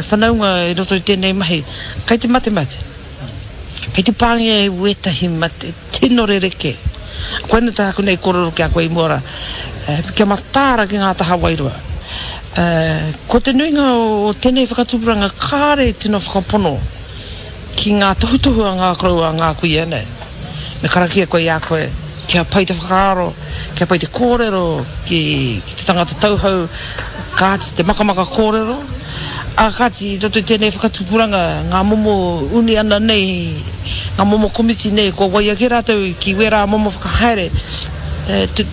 whanaunga i roto i tēnei mahi, kei te matemate. Kei te pāngia e wētahi mate tino rerekē. Koina tāku nei kōrero ki a koe i mua rā, kia mataara ki ngā taha wairua. Ko te nuinga o tēnei whakatupuranga kāre i tino whakapono ki ngā tohutohu a ngā koroua, a ngā kuia nei. Me karakia koe i a koe, kia pai te whakaaro, kia pai te kōrero ki te tangata tauhou, kāti te makamaka kōrero, ā, kāti i roto i tēnei whakatupuranga ngā momo uniana nei, ngā momo komiti nei kua waia kē rātou ki wērā momo whakahaere,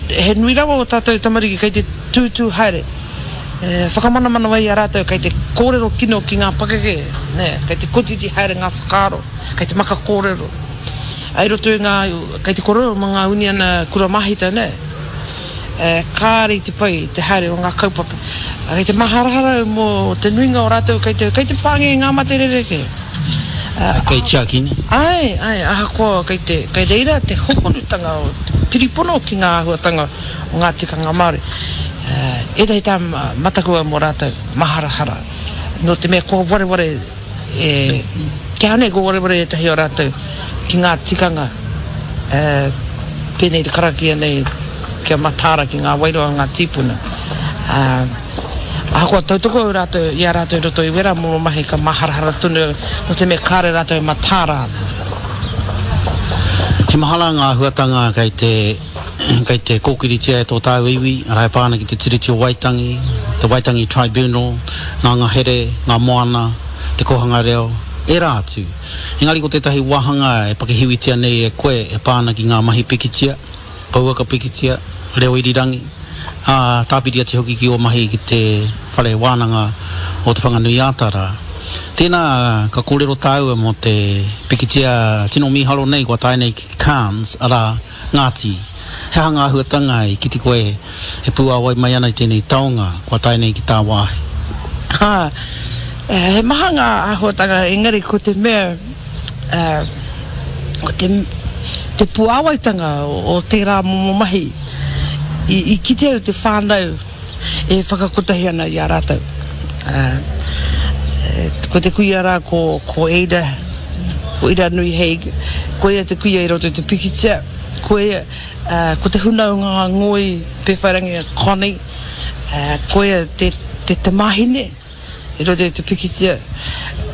he nui rawa o tātou tamariki kei te tūtū haere, whakamanamana ai i a rātou kei te kōrero kino ki ngā pakeke, nē, kei te kotiti haere ngā whakaaro, kei te maka kōrero. I roto i ngā, kei te kōrero mō ngā uniana kura māhita, nē. Kāre i te pai te haere o ngā kaupapa. Kei te maharahara au mō te nuinga o rātou kei te, kei te pāngia i ngā mate rerekē. Kei tiakina. Āe, āe, ahakoa kei te, kei reira te hohonutanga o te piripono ki ngā āhuatanga o ngā tikanga Māori. Ētahi tā mataku au mō rātou, maharahara. Nō te mea kua wareware E kīia nei ko wareware ētahi o rātou ki ngā tikanga pēnei te karakia nei kia mataara ki ngā wairua o ngā tīpuna. Ahakoa tautoko au rātou i a rātou i roto i wērā momo mahi ka māharahara tonu au nō te mea kāore rātou e mataara ana. He maha rā ngā āhuatanga kei te kei te kōkiritia e tō tāua iwi, arā e pā ana ki te Tiriti o Waitangi, te Waitangi Tribunal, ngā ngahere, ngā moana, te kōhanga reo, ērā atu. Engari ko tētahi wāhanga e pakihiwitia nei e koe e pā ana ki ngā mahi pikitia, pouaka pikitia, reo irirangi, ā, tāpiri atu hoki ki ō mahi ki te Whare Wānanga o Te Whanganui-ā-Tara. Tēnā ka kōrero tāua mō te pikitia tino mīharo nei kua tae nei ki Cannes, arā, Ngāti, he aha ngā āhuatanga i kite koe e pūāwai mai ana i tēnei taonga kua tae nei ki tāwāhi? Ā, he maha ngā āhuatanga engari ko te mea, ko te, te puāwaitanga o tērā momo mahi, i, i kite au te whānau e whakakotahi ana i a rātou. Ā, ko te kuia rā ko, ko Ada, ko Iranui Haig, ko ia te kuia i roto i te pikitia, ko ia, ā, ko te hunaonga ngoi Pēwhairangi a Connie, ā, ko ia te, te tamāhine i roto i te pikitia.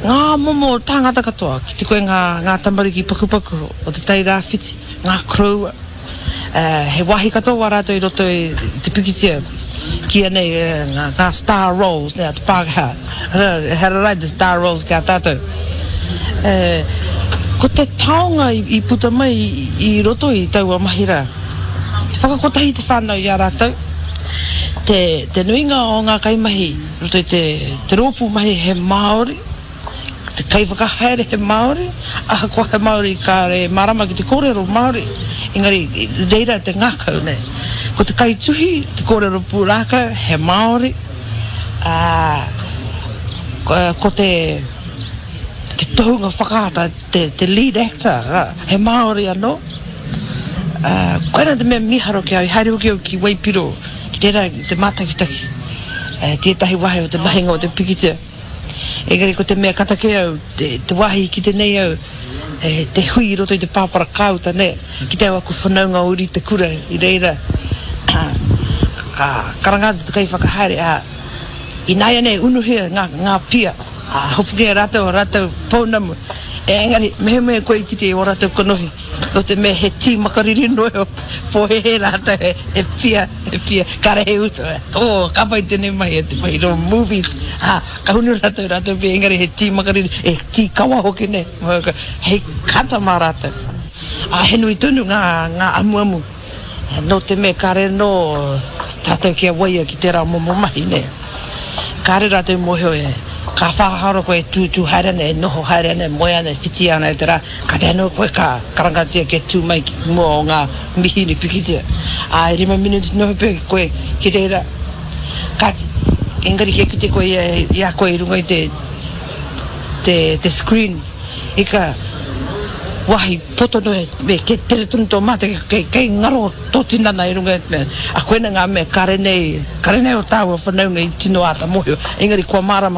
Ngā momo tāngata katoa, kite koe ngā, ngā tamariki pakupaku o Te Tai Rāwhiti, ngā koroua, He wāhi katoa wā rātou i roto i te pikitia, kīia nei ngā star roles a te Pākehā. Ehara rā i te star roles ki a tātou. Ko te taonga i puta mai i roto i taua mahi rā, te whakakotahi te whānau i a rātou, te nuinga o ngā kaimahi i roto i te rōpū mahi he Māori, Te kaiwhakahaere he Māori, ahakoa he Māori kāore e mārama ki te kōrero Māori, engari i reira te ngākau nei. Ko te kaituhi, te kōrero pūrākau, he Māori, ā, ko te, te tohunga whakaata, te, te lead actor, ā, he Māori anō. Ā, koirā te mea mīharo ki a au, i haere hoki au ki Waipiro, ki reira te mātakitaki, tētahi wāhi o te mahinga o te pikitia. Engari ko te mea kata kē au, te wāhi i kite nei au, te hui i roto i te pāpara kāuta nei, kite au aku whanaunga o uri te kura i reira, ka karanga atu te kaiwhakahaere, ā, ināianei unuhia ngā pia, ā, hopukia e rātou ō rātou pounamu, engari mehemea koe i kite i ō rātou kanohi, nō te mea he tī makariri noa iho, pōhēhē rātou he pia, he pia, kāre he utu, oh, ka pai tēnei mahi e te mahi rō movies, ā, ka hunu rātou, rātou pia, engari he tī makariri, he tī kawa hoki nei, hei kata mā rātou. Ā, he nui tonu ngā, ngā amuamu, nō te mea kāre anō tātou kia waia ki tērā momo mahi, nē. Kāre rātou i mōhio e, ka whāharo koe e tūtū haere ana, e noho haere ana, e moe ana, e whiti ana e te rā, Kātahi anō koe ka karangatia kia tū mai ki mua o ngā mihini pikitia. Ā, e rima miniti noa pea koe ki reira. Kāti, engari kia kite koe i a koe i runga i te, te, te screen, ika, wāhi poto noa me kei tere tonu tō mate, kei, kei ngaro tō tinana i runga i te mea. A koina ngā mea kāre nei, kāre nei o tāua whanaunga i tino āta mōhio, engari kua mārama.